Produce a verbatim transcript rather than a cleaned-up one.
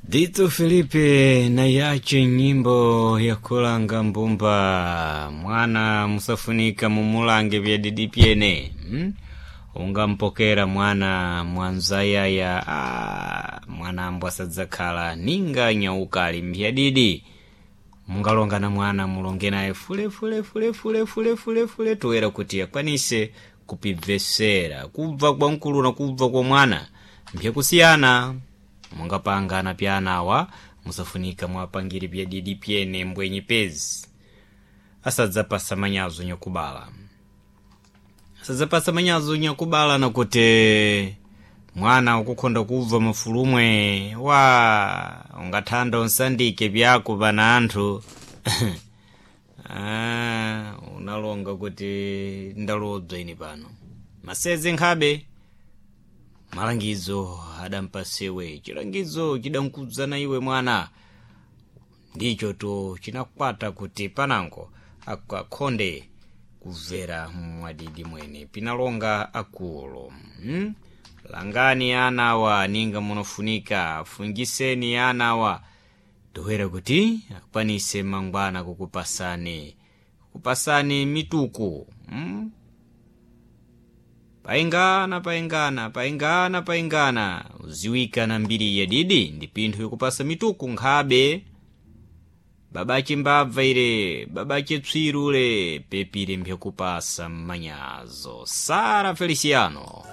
Dito Felipe na yache nyimbo ya kulanga mbumba mwana musafunika mumulange vyadidi pyene hmm? Ungampokera mwana mwanzayaya ah, mwana ambwa sadzakhala ninga nyaukali mbyadidi mungalonga na mwana mulonge naye fule fule fule fule fule fule fule toera kuti akwanise kupibvesera kubva kwa mkulu na kubva kwa mwana mpyakusiyana mungapangana pyanawa musafunika mwapangire pyadidi pyene mbwenyi pezi asadzapasa manyazo nyakubala asadzapasa manyazo nyakubala nakuti mwana ukukhonda kubva mafulumwe wa ungathanda unsandike pyako pana anthu ah, unalonga kuti ndalodzwa ini pano maseze nkhabe malangizo adampasewe chilangizo chidankudzana iwe mwana ndicho to chinakwata kuti panango akakhonde kubvera mwadidi mwene pinalonga akulu hmm? Langani anawa ninga munofunika fungiseni anawa tohera kuti akwanise mangwana kukupasani kukupasani mituku hmm? Paingana paingana paingana paingana uziwika na mbiri yadidi ndi pinthu ikupasa mituku nkhabe babache mbabva ire babache tswirule pepire mphekupasa mmanyazo Sara Feliciano.